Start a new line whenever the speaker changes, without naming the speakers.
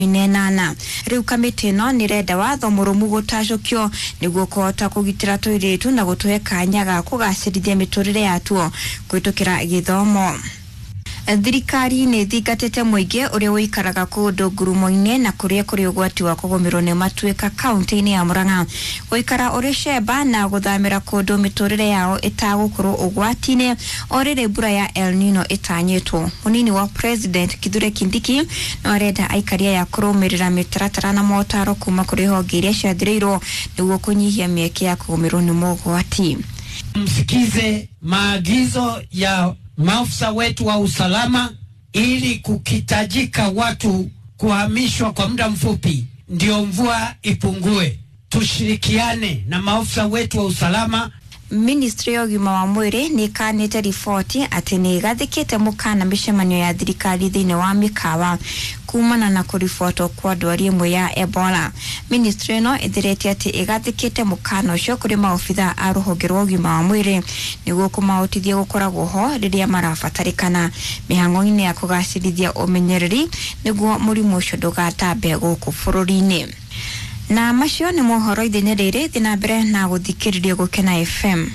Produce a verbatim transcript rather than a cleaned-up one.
Nena riu kamiti ino nirenda watho murumu gutacukio niguo kuhota kugitira tuiritu na gutuhe kanya ga kugacirithia miturire yatuo kwitukira githomo. Thirikari nĩ ĩthingatĩte mũingĩ ũrĩa ũikaraga kũndũ ngurumo-inĩ na kũrĩa kũrĩ ũgwati wa kũgũmĩrwo nĩ matuĩka kaunti-inĩ ya Murang'a gũikara ũrĩ cemba na gũthamĩra kũndũ mĩtũrĩre yao ĩtagũkorwo ũgwati-inĩ o rĩrĩ mbura ya El Nino ĩtanyĩtwo. Mũnini wa President Kithure Kindiki no arenda aikari aya kũrũmĩrĩra mĩtaratara na motaro kuma kũrĩ honge iria ciathĩrĩirwo nĩguo kũnyihia mĩeke ya kũgũmĩrwo nĩ mogwati.
Msikize maagizo ya maafisa wetu wa usalama ili kukitajika watu kuhamishwa kwa muda mfupi ndio mvua ipungue. Tushirikiane na maafisa wetu wa usalama.
Ministry ya ũgima wa mwĩrĩ nĩ ĩkanĩte riboti atĩ nĩ ĩgathĩkĩte mũkana mĩcemanio ya thirikari thĩinĩ wa mĩkawa kumana na kũribotwo kwa ndwari ĩmwe ya Ebola. Ministry ĩno ĩtheretie atĩ ĩgathĩkĩte mũkana ũcio kũrĩ maobithaa a rũhonge rwa ũgima wa mwĩrĩ nĩguo kũmahotithia gũkoragwo ho rĩrĩa marabatarĩkana mĩhang'o-inĩ ya kũgacĩrithia ũmenyereri nĩguo mũrimũ ũcio ndũgatambe gũkũ bũrũri-inĩ. Na macio nĩ mohoro ithenya rĩrĩ, thiĩ na mbere na gũthikĩrĩria Gũkena F M.